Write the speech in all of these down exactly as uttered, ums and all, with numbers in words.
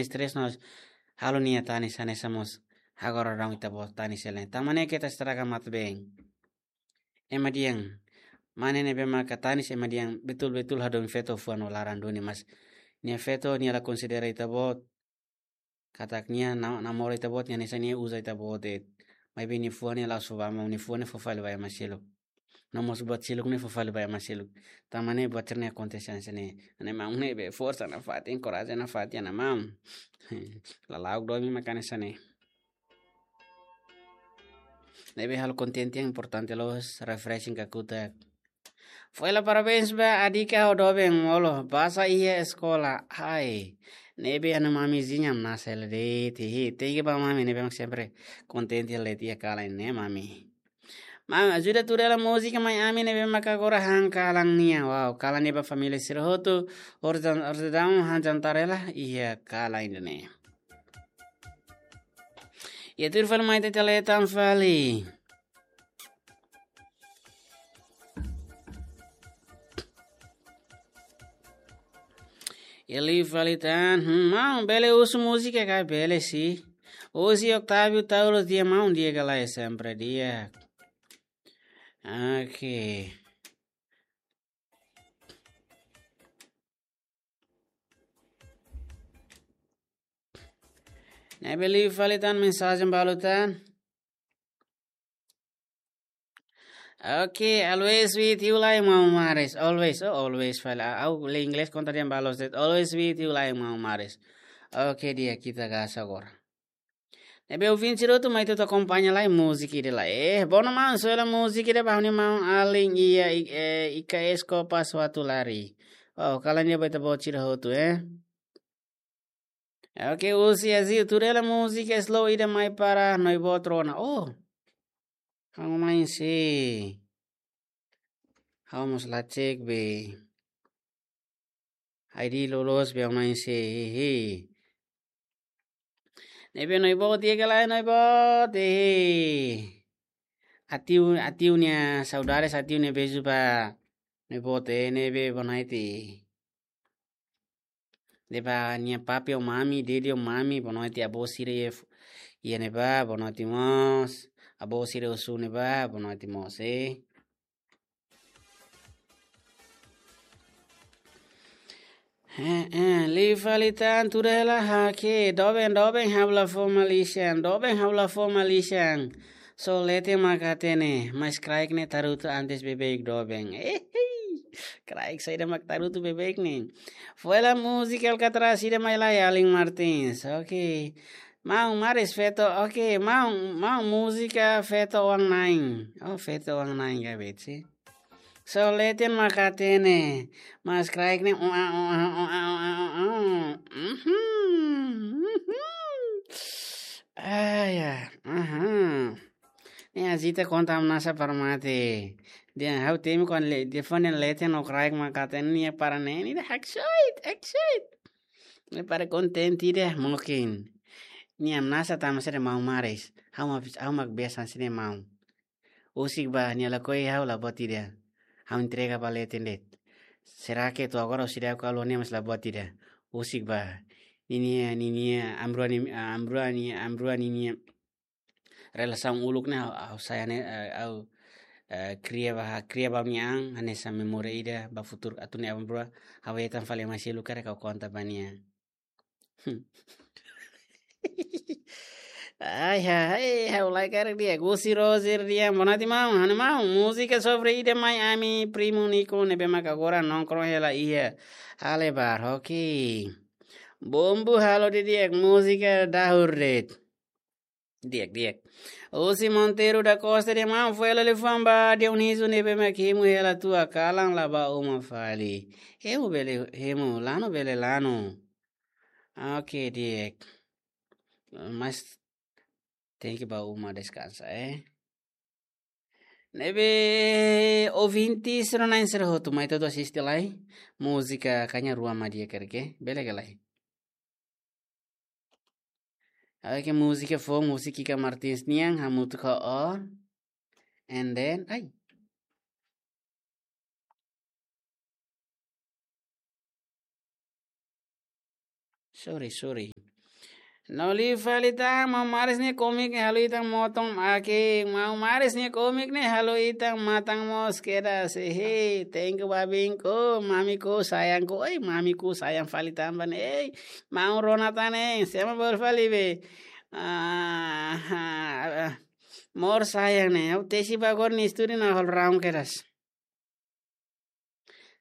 stress no halo nia tanis hanesan mós agora daudaun ita-boot tanis hela. Tanba ne'e keta estraga matebian. Ema dehan, mane ne'ebé maka tanis ema dehan betul-betul hadomi feto fuan no laran duni, mas nia feto nia la konsidera ita-boot. Katak nia na-, namora ita-boot, nia hanesan nia uza ita-boot de'it. Maibé nia fuan ne'e la'ós fó ba maun, nia fuan ne'e fó fali ba ema seluk. No mós buat seluk ne'e fó fali ba ema seluk. Tanba ne'e buat sira-ne'e akontese hanesan ne'e. Ne'e maun ne'ebé forsa nafatin, korajen nafatin, ne'e maun. Lala'ok domin maka hanesan ne'e. Ne'ebé halo kontente yang importante loos, refreshing kakutak. Foin hela parabéns ba Adika ho doben molo basa iha eskola. Hai. Ne'ebé ha'u-nia mami zinya masa hela de'it. Thank you ba mami ne'ebé mak sempre kontente hela de'it iha kalan ne'e mami. Mami, ajuda tuur hela múzika mai ami ne'ebé maka agora han kalan nian. Wow, kalan ne'e ba família sira hotu. Ordan, ordan han jantar hela iha kalan ida-ne'e. Iha tuir fali mai ita-nia tele tan fali. Iha liu fali tan, hmm, maun, bele husu múzika ka? Bele, si. Husi Octavio Taurus, di'ak maun, di'ak ka lae, sempre di'ak. Oke. Ne'ebé liu fali tan mensajen balu tan. Okay, always with you lai maun Maris. Always, oh, always fali. Ha'u, ha'u lee inglés konta dehan ba loos de'it. Always with you lai maun Maris. Okay, di'ak, ita gás agora. Ne'ebé ouvinte sira hotu mai ita akompaña lai múzika ida lai. Eh, bom maun, soe hela múzika ida ba ha'u-nia maun alin iha, i-, eh, I K S Copas Huatulari. Oh, kalan ida ba ita-boot sira hotu, eh. Okay, husi Azil, tuur hela múzika slow ida mai para Noiboot rona. Oh. Ha'u mai se. Ha'u mós la cek be. I D loloos be ha'u mai se. Hehe. Ne'ebé Noiboot di'ak ka lae Noiboot, hehe. Atiu, atiu nia saudades, atiu nia beijo ba Noiboot, eh, ne'ebé bonoite. De'it ba nia papi ho mami, dedi ho mami, bonoite, avó sira iha f-, iha ne'ebá, bonoite mós. Avó sira husu ne'ebá, bonoite mós, eh. Eh, eh, liu fali tan tuur hela, okay, doben, doben, ha'u la fó malisan, doben, ha'u la fó malisan. Só leten mak hatene, mas kraik ne'e tarutu antes beibeik doben. Eh, eh. Kraik saida mak tarutu beibeik ne'e. Foin hela múzika Alcatraz ida mai lai alin Martins. Okay. Maun Maris feto, okay. Maun, maun múzika feto oan-na'in. Oh, feto oan-na'in ka beti. Só leten mak hatene. Mas kraik ne'e, ua, ua, ua. Mhm, mhm. Ah, ya. Aha. Ne'e agita konta hamnasa para mate. Dehan ha'u temi kuandu le, telefone leten no kraik mak hatene nia para ne'e, nia haksoit, haksoit. Nia para kontente ida, mungkin. Nia hamnasa tanba sira maun Maris. Ha'u mak, ha'u mak biasa sira maun. Husik ba, nia lakohi ha'u la buat ida. Ha'u entrega ba leten de'it. Será que to'o agora husi dauk ha'u ho nia mós la buat ida. Husik ba. Ninia, ninia, amrua ni, amrua ni, amrua ninia relasaun uluk ne'e ha'u, ha'u sai ne'e, eh, ha'u, eh, kria ba, kria ba nia an, hanesan memória ida ba futuru atu nia amrua, ha'u hetan fali mai seluk karik ha'u konta ba nia. Ai, ai, ha'u lae karik di'ak. Husi Roger di'ak, bonoite maun, ha'u-nia maun, múzika sofre ida mai ami primu Nico ne'ebé mak agora nongkrong hela iha Halebar, okay. Bombu halo didi'ak, múzika dahur de'it. Di'ak, di'ak. Husi Monteiro da Costa di'ak maun, foin hela liafuan ba Dionísio ne'ebé mak hemu hela tua kalan la bá uma fali. Hemu bele hemu, lanu bele lanu. Okay, di'ak. Mas tenke bá uma deskansa, eh. Ne'ebé ouvinte sira-na'in sira hotu mai ita atu asiste lai. Múzika kaña rua mak di'ak karik, bele ka lae. Oke, múzika foun, múzika Kika Martins nian, hamutuk ho O. And then, ai. Sorry, sorry. No liu fali tan, maun Maris nia komik ne'e halo ita-nia matan, oke, maun Maris nia komik ne'e halo ita-nia matan mós kedas, hehe, thank you, babinku, mamiku, sayangku, ei, mamiku, sayang fali tanba ne'e, ei, maun Ronatan ne'e, semo bolu fali be. Ah, ah, ah, mós sayang ne'e, ha'u tesi ba agora nia estúdiu ne'e halo raun kedas.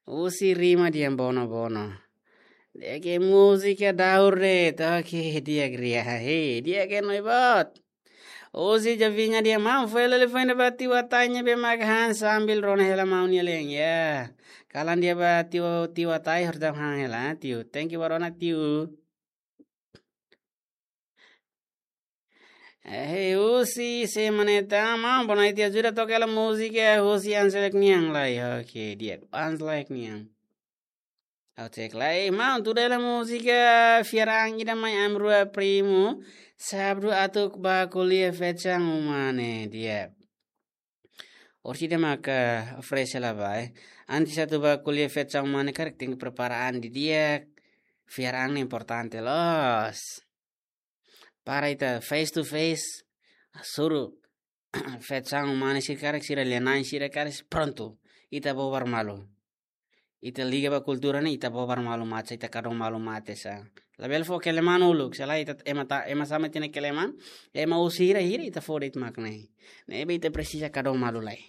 Husi rima dehan bono-bono. Di'ak, múzika daur de'it, oke, di'ak, ria, he, di'ak, no boot. Husi Javiña dehan maun, fó hela liafuan ida ba tiu Atai ne'ebé mak han sambil rona hela maun nia lean, ya. Kalan dehan ba tiu, tiu Atai harus dam han hela, tiu. Thank you ba rona, tiu. Eh, husi se maneta, maun, bona ita ajuda toka hela múzika husi Anselek nian lai. Oke, di'ak, Anselek nian. Ha'u cek lai, maun, tuda hela múzika fiar an ida mai ami rua primu, sábadu atu bá ko'alia fechan uma ne'e, di'ak. Orsida maka fresh hela ba, eh. Antes atu bá ko'alia fechan uma ne'e karik tenke prepara an didi'ak, fiar an ne'e importante loos. Para ita face to face, suru fechan uma ne'e sira karik sira lia-na'in sira karik prontu. Ita bobar malu. Ita liga ba kultura ne'e, ita bobar malu mate, ita kadom malu mate sa. Labele fó keleman uluk, selae ita ema ta, ema sama tiha ona keleman, ema husi hira-hira ita fó de'it mak ne'e. Ne'ebé ita presiza kadom malu lai.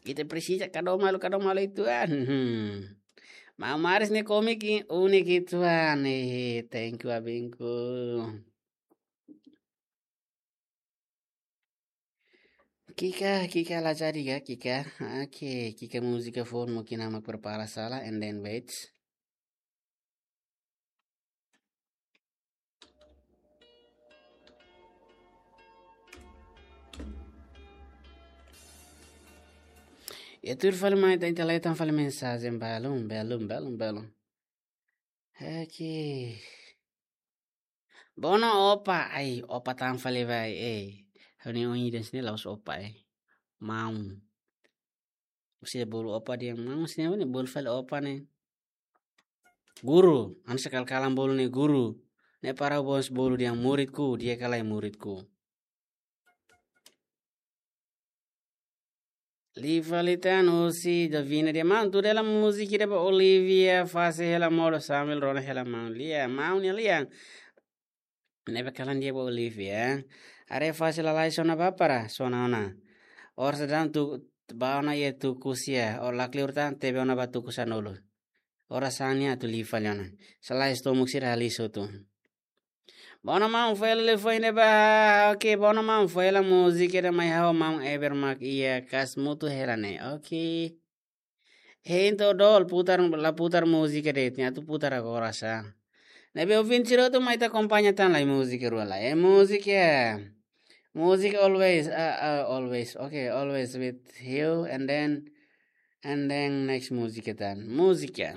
Ita presiza kadom malu, kadom malu uitoan. Hmm. Maun Maris nia komik i-, unik uitoan. Eh, thank you, babinku. Kika, Kika la jadi ka, Kika. Oke, Kika múzika foun mungkin ha'u mak prepara sala, and then wait. Ya, tuir fali mai ita, ita laitan fali mensajen balun, balun, balun, balun. Oke. Bono opa, ai, opa tan fali ba, eh. Ha'u-nia oin ida sini la'ós opa, eh. Maun. Husi bolu opa dehan maun, sini ne'e bolu fali opa ne'e. Guru, anu sekali-kali bolu ne'e guru. Ne'e para bos bolu dehan muridku, di'ak ka lae muridku. Liu fali tan husi Davina dehan maun, tuda hela múzika ida ba Olivia, fase hela modo sambil rona hela maun lia, maun nia lia. Ne'ebé kalan dehan ba Olivia. Haree fase lalais ona bá para, sona ona. Orsida atu bá ona iha tuku sia, o lakleur tan tebe ona ba tuku sanulu. Oras sani atu liu fali ona. Selae estómagu sira halisu tu. Bono maun, fó hela liafuan ida ba, oke, bono maun, fó hela múzika ida mai ha'u ho maun Eber mak iha kas mutu hela ne'e, oke. Hein to dol, putar, la putar múzika de'it, atu putar agora sa. Ne'ebé ouvinte sira hotu mai ita akompaña tan lai múzika rua lai. Eh, múzika. Múzika always, ah, ah, always. Okay, always with you and then, and then next múzika tan. Múzika.